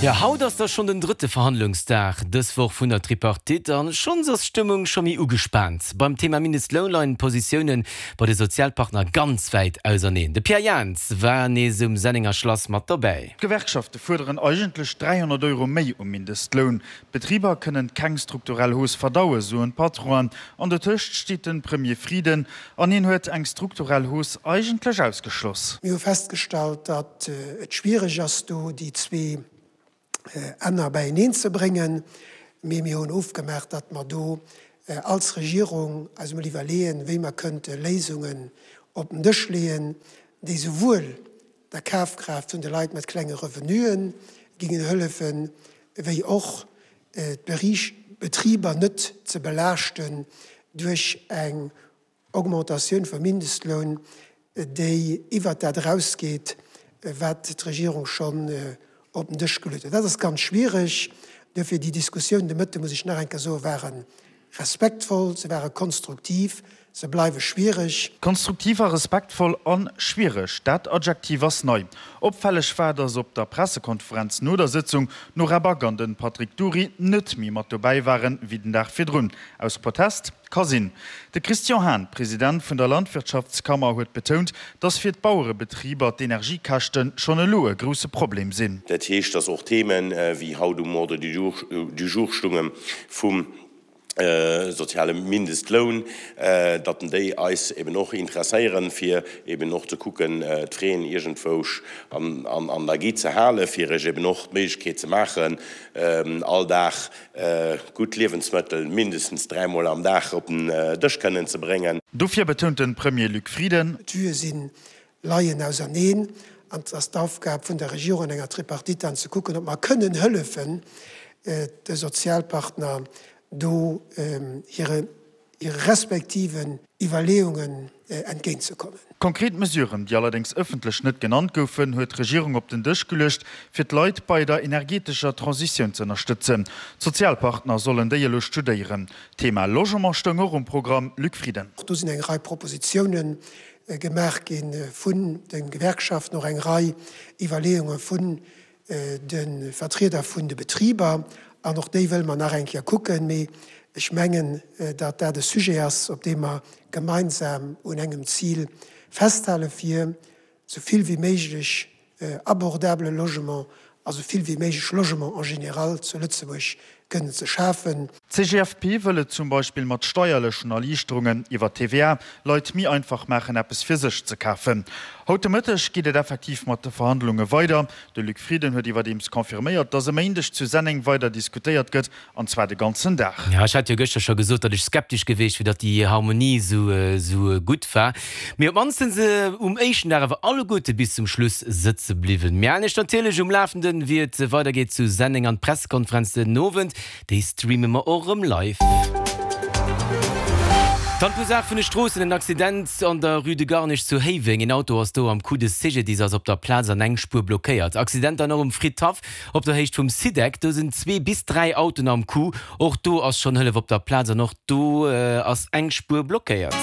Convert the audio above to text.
Jo, haut ass da schonn den drëtte Verhandlungsdag dës Woch vun der Tripartite an schonns ass d'Stëmmung scho méi ugespaant. Beim Thema Mindestloun leien d'Positioune bei de Sozialpartner ganz wäit auserneen. De Pierre Jans war nees um Sennenger Schlass mat dobäi. D'Gewerkschafte fuerderen eigentlech 300 Euro méi um Mindestloun. D'Betriber kënnen keng strukturell Hausse verdauen, soen d'Patronen. An dotëscht steet de Premier Frieden an hien huet eng strukturell Hausse eigentlech ausgeschloss. Mir hu festgestallt, datt et schwiereg ass, do déi zwee Enner beieneen ze bréngen. Mee mir hunn ofgemaach, datt mer do als Regierung eis emol iwwerleeën, wéi mer kënnte Léisungen op den Dësch leeën, déi souwuel der Kafkraaft vun de Leit mat klenge Revenuen gingen hëllefen, wéi och d'Betriber net ze belaaschten duerch eng Augmentatioun vum Mindestloun, déi iwwert dat erausgeet, wat d'Regierung schonn op den Dësch geluet huet. Dat ass ganz schwiereg. Duerfir déi Diskussioun de Mëtte, muss ech nach eng Kéier soen, ware respektvoll, se ware konstruktiv, se bleiwe schwiereg. Konstruktiv a respektvoll a schwiereg, dat Adjektiv ass nei. Opfälleg war, datt op der Pressekonferenz no der Sëtzung d'Nora Back an de Patrick Dury net méi mat dobäi waren, wéi den Dag virdrun. Aus Protest? Ka sinn. De Christian Hahn, President vun der Landwirtschaftskammer, huet betount, datt fir d'Bauerebetriber d'Energiekäschte schonn elo e grousse Problem sinn. Dat heescht, datt och Themen, wéi haut um Ordre du jour stungen, vum soziale Mindestloun, datt déi eis eben och interesséieren, fir eben och ze kucken, d'Fraisen iergendwousch an der Gi ze halen, fir iech eben och d'Méiglechkeet ze maachen, all Dag gutt Liewensmëttel mindestens dräimol am Dag op den Dësch kënnen ze bréngen. Dofir betount de Premier Luc Frieden. D'Vuë sinn leien auserneen an et ass d'Aufgab vun der Regierung an enger Tripartite dann ze kucken, ob mer kënnen hëllefen, de Sozialpartner do hire respektiven Iwwerleeungen entgéintzekommen. Konkret Mesuren, déi allerdéngs ëffentlech net genannt goufen, huet d'Regierung op den Dësch geluecht, fir d'Leit bei der energetescher Transitioun ze ënnerstëtzen. D'Sozialpartner sollen déi elo studéieren. D'Thema Logement stoung och um Programm, Luc Frieden. Och do sinn eng Rei Propositiounen gemaach gi vun de Gewerkschaften, och eng Rei Iwwerleeunge vun de Vertrieder vun de Betriber, an och déi wëlle mer nach eng Kéier kucken. Mee ech mengen, datt dat e Sujet ass, op deem mer gemeinsam un engem Zil festhalen, fir esou vill wéi méiglech abordabele Logement a sou vill wéi méiglech Logement en général zu Lëtzebuerg kënnen ze schafen. D'CGFP wëll et zum Beispill mat steierlechen Erliichterungen iwwer d'TVA Leit méi einfach maachen, eppes fir sech ze kafen. Haut de Mëtteg geet et effektiv mat de Verhandlunge weider. De Luc Frieden huet iwwerdeems confirméiert, datt e Méindeg zu Senneng weider diskutéiert gëtt, an zwar de ganzen Dag. Jo, ech hat jo gëschter scho gesot, datt ech skeptesch geweecht wier, datt déi Harmonie esou gutt war. Mee op d'mannst sinn se um éischten Dag awer alleguerte bis zum Schluss sëtze bliwwen. Mir halen iech natierlech um Lafenden, wéi et weidergeet zu Senneng an d'Pressekonferenz den Owend, déi streame mer och erëm live. Dann d'Ursaach vun de Stroossen, en Accident an der Rue de Garnich zu Héiweng. Een Auto ass do am Coup, de CGDIS ass op der Plaz an eng Spuer blockéiert. Accident dann och um Fridhaff op der Héicht vum Sidec. Do sinn zwee bis 3 Autoen am Coup. Och do ass schonn Hëllef op der Plaz an och do ass eng Spuer blockéiert.